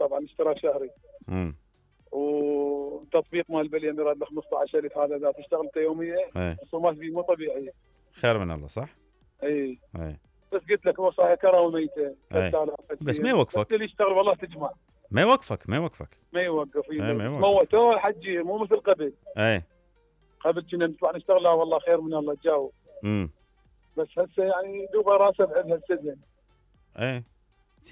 طبعا اشتراك شهري. وتطبيق مال باليمير ل 15,000 هذا اذا تشتغل انت يوميا الرسومات فيه مو طبيعيه. خير من الله صح؟ اي بس قلت لك وصايا كراوي ميته 3000 بس ما يوقفك. اللي يشتغل والله تجمع. ما يوقف. ما يوقف. موتوه حجي مو مثل قبل. قبل كنا نطلع نشتغل لا والله خير من الله تجاوب. بس هسه يعني دوبه راسه بعد هالسجن.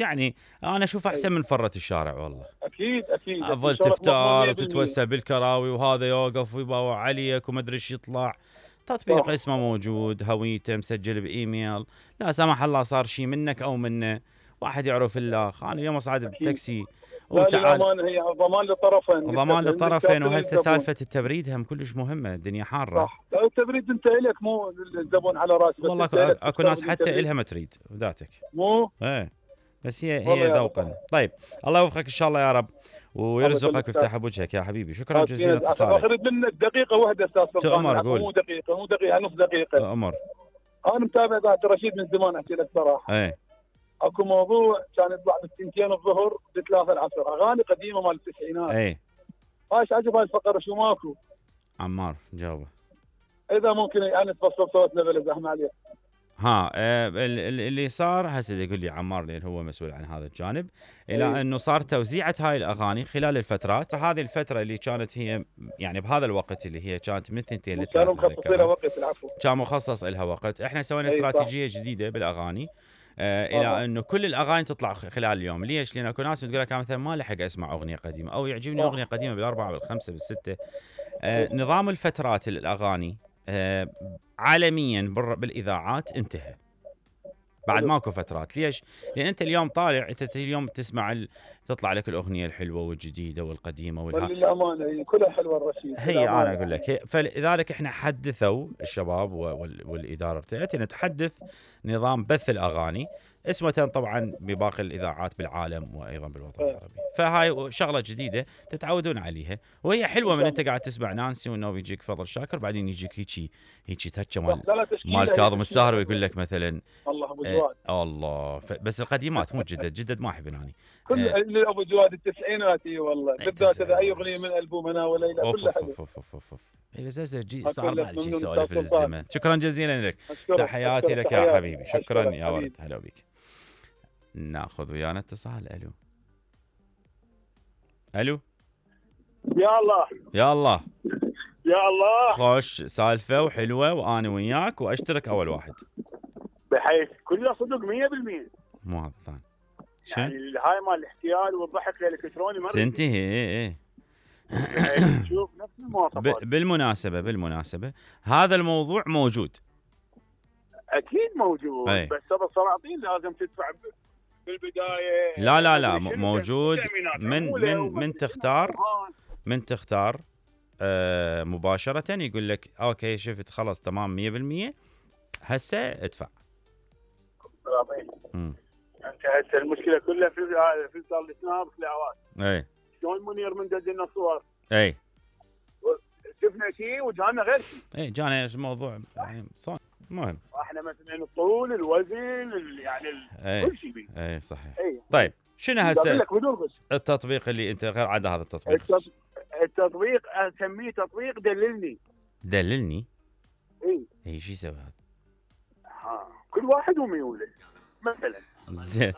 يعني انا اشوف احسن من فرة الشارع والله. اكيد افضل تفتار وتتوسع بالكراوي وهذا يوقف ويباوع عليك وما ادري ايش يطلع. تطبيق اسمه موجود، هويته مسجل بايميل، لا سمح الله صار شيء منك او منه، واحد يعرف الاخ. انا اليوم اصعد بتاكسي وتعال هي ضمان للطرفين. وهسه سالفه التبريد هم كلش مهمه، الدنيا حاره. صح، التبريد انت الك مو الزبون على راسك. والله اكو ناس حتى الها ما تريد ذاتك مو بس هي ذوقا. طيب الله يوفقك ان شاء الله يا رب ويرزقك ويفتح بوجهك يا حبيبي. شكرا جزيلا اتصالك. اخذ منك دقيقه واحده استاذ سلطان. تؤمر قول. مو دقيقه نص دقيقه. امر. انا متابع ذات رشيد من زمان احكي لك صراحه. اكو موضوع كان يطلع بالثنتين الظهر بثلاثه العصر، اغاني قديمه مال التسعينات. ايش عجب هاي الفقره شو ماكو؟ عمار جاوبه. اذا ممكن يعني تفصل صوتنا بلا زحمه عليك. اللي صار هسه يقول لي عمار لان هو مسؤول عن هذا الجانب، الى انه صار توزيعه هاي الاغاني خلال الفترات. هذه الفتره اللي كانت هي يعني بهذا الوقت اللي هي كانت من 2 ل 3 كانوا مخصصين لها وقت. العفو. كان مخصص لها وقت. احنا سوينا استراتيجيه جديده بالاغاني الى انه كل الاغاني تطلع خلال اليوم. ليش؟ لان اكو ناس تقول لك مثلا ما لحق اسمع اغنيه قديمه او يعجبني اغنيه قديمه بالاربعه بالخمسه بالسته. نظام الفترات الاغاني عالميا بالاذاعات انتهى. بعد ماكو فترات. ليش؟ لان انت اليوم طالع، انت اليوم تسمع تطلع لك الاغنيه الحلوه والجديده والقديمه للامانه كلها حلوه الرشيد. هي انا اقول لك فلذلك احنا حدثوا الشباب والاداره تاعتنا نتحدث نظام بث الاغاني اسمه طبعا بباقي الاذاعات بالعالم وايضا بالوطن العربي. فهاي شغله جديده تتعودون عليها وهي حلوه. من انت قاعد تسمع نانسي وانه بيجيك فضل شاكر بعدين يجيك هيك تهجه مال كاظم الساهر ويقول لك مثلا الله ابو جواد. الله بس القديمات مو جدد ما احب اني كل ابو جواد التسعينات. والله بالذات اذا اي اغنيه من البوم هنا وليلى كلها حلوه. اي بس صار بعد شيء سوالف الزمن. شكرا جزيلا لك. تحياتي لك يا حبيبي. شكرا يا ورد. هلا بك. ناخذ ويانا اتصال. الو يا الله خوش سالفه وحلوه وانا وياك واشترك اول واحد بحيث كله صدق 100%. مو هذا الثاني يعني هاي مال الاحتيال والضحك الالكتروني ما تنتهي. شوف نفس المواصفات. بالمناسبه هذا الموضوع موجود. اكيد موجود. بس هذا السلاطين لازم تدفع بالبدايه. لا موجود. من تختار مباشره يقول لك اوكي شفت خلص تمام 100% هسه ادفع. انت هسه المشكله كلها في صار السناب خلاوات. شلون منير من دزنا صور. شفنا شيء وجانا غير شيء. جانا الموضوع يعني صار مهم. احنا مثلا الطول الوزن يعني كل شيء بيه. صحيح. طيب شنو هسه التطبيق اللي انت غير عاد هذا التطبيق اسميه تطبيق دللني. اي شو يسوي هذا؟ كل واحد وميوله مثلا. زين.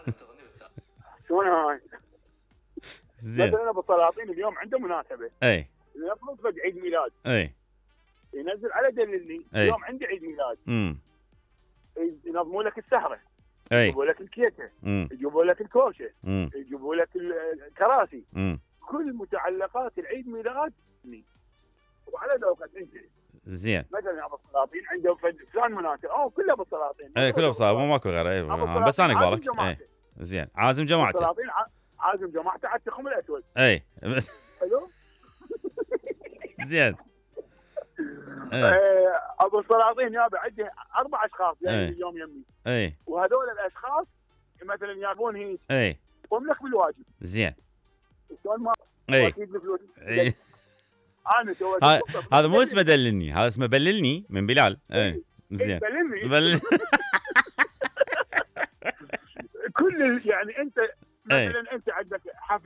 شلون هاي؟ زين. مثلا ابو السلاطين اليوم عنده مناسبه. يفرض فد عيد ميلاد. ينزل على دللني. اليوم عندي عيد ميلاد. ينظموا لك السهره. يجيبوا لك الكيكه. يجيبوا لك الكوشه. يجيبوا لك الكراسي. كل متعلقات العيد ميلاد وعلى ذوقك انت. زين. مثلا ابو السلاطين عنده فلان مناسب كله ابو السلاطين. كله ابو السلاطين ماكو غيره. بس انا قبالك. زين عازم جماعته. ابو السلاطين عازم جماعته على التخم الاسود. حلو. زين. ابو السلاطين يابا عنده 4 اشخاص يعني اليوم يمي. وهذول الاشخاص مثلا يابون هيك. يقوم لك بالواجب. زين. شلون ما اكيد بالفلوس. انا هذا مو اسمه دللني، هذا اسمه بللني من بلال. زين. بللني. كل يعني انت مثلا انت عندك حفله